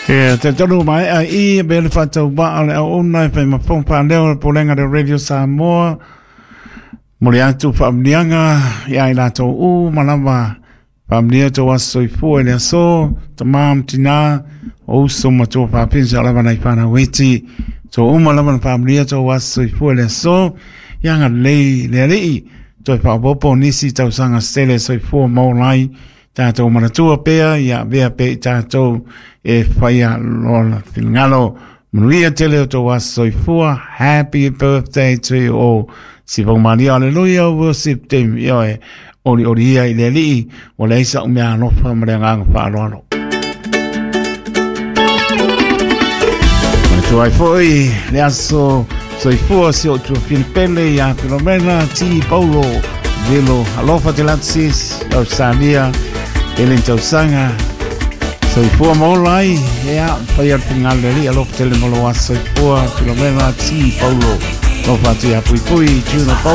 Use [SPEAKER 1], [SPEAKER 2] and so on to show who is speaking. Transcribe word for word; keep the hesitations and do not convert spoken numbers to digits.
[SPEAKER 1] E te tolu mai a i be le whātau ba le au ona e whai mapong pāleo le polenga le Radio Samoa. Mole atu whaamnianga ia i lātou u malama whaamnia tō aso i fua i le aso tamam tina o uso matua whapinsa lava nei whana weti tō uma lava na whaamnia tō aso i fua i le aso ia ngā lei le alii tō i whaopopo nisi tau sanga stele soifua maulai tātou manatua pea ia vea pe i tātou e whaia lola whingalo manuia tele o tō aso soifua. Happy birthday to you all. Si Maria, hallelujah, worship team ia e ori ori ia i le alii o le isa umea alofa ma le agaga faaaloalo. Manatua ai foʻi le aso soifua si o tuafina pele ia Filomena T Paulo Velo alofa te latsis Australia ele tausaga soifua maola ai ea faia le finagalo le alii alofa tele mo lou aso soifua Filomena T Paulo alofa atu ia Puipui Juna Paulo.